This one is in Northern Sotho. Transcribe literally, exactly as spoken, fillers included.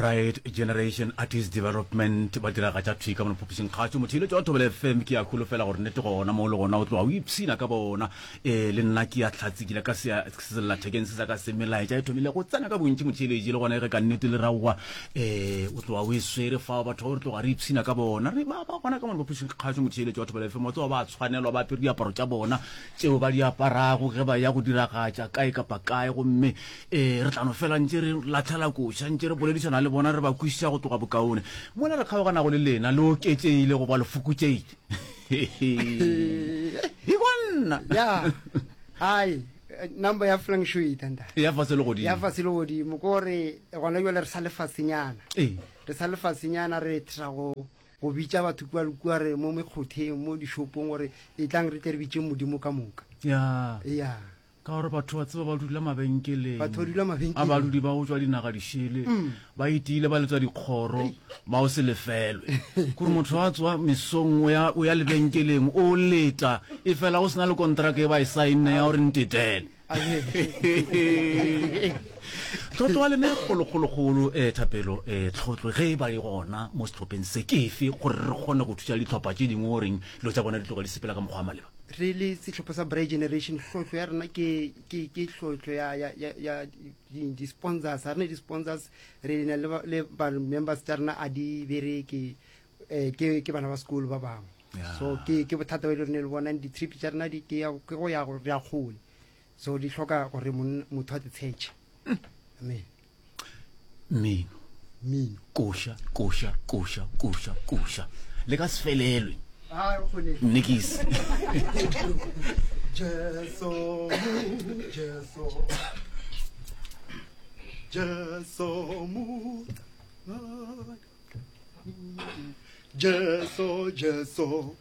Bright Generation Artist Development ba diragatša thwi ka mono phapošing kgašo. Motheeletši wa Thobela F M, ke a kholofela gore nnete gona mo le gona o tloga o ipshina ka bona. Um le nna ke a hlatsekile ka sellathekeng se sa ka se melaetša e thomile go tsena ka bontši motheeletši, le gona ge ka nnete le raowa um o tloga o e swere fao. Batho ba re tloga re ipshina ka bona, re ba ba gona ka mono phapošing kgašo. Motheeletši wa Thobela F M, wa tseba ba tshwanelwa ba apere diaparo tša bona tšeo ba di aparago ge ba ya go diragatša kae kapa kae, gomme um re tla no fela ntše re latlhela koša, ntše re boledišana le bona, re ba kwešiša go tloga bokaone. Mola re kgaoganago le lena, le oketšeile goba le fokotšeile? Ikwa nna. Ya ai, number ya flang shoita nta ya fase le godimo, ya fase le godimo, ke gore gona jwale re sa le fasenyana. Ee. Re sa le fasenyana, re tla go go bitša batho kua le kua, re mo mekgotheng, mo dishopong, gore e tlang re tle re bitše Modimo ka moka. Ya. Ya. Ka gore batho ba tseba ba dula mabenkeleng, batho ba dula mabenkeleng, a badudi ba go tšwa dinaga dišele ba itiile ba letswa dikgoro ba o se lefelwe, kore motho a tswa mesong o ya o ya lebenkeleng o leta, e fela go sena le kontraka e ba e saenne ya gore ntetele. Tlotlo wa lena e kgolokgolokgolo, um Thapelo, um tlhotlo ge e ba e gona mo sehlopheng se ke efe, gore re kgone go thuša dihlopha tše dingwe goreng dilo tša bona di tloga di sepela ka mokgwa wa maleba? Re le sehlopha sa Bright Generation, hlotlo ya rena ke ke ke hlotlo ya ya ya ya di-sponsors. Ga re ne di-sponsors, re na le le ba members tša rena a di bereke, um ke ke bana ba sekolo ba bangwe. So ke ke bothata ba ile re ne le bona di-trip tša rena di ke ya ke go ya go re ya kgole, so di hloka gore motho a di tshetše. Amen. Mmino, mmino, koša, koša, koša, koša, koša, le ka se felelwe. Nikis. Jesu, Jesu, Jesu, Jesu, Jesu.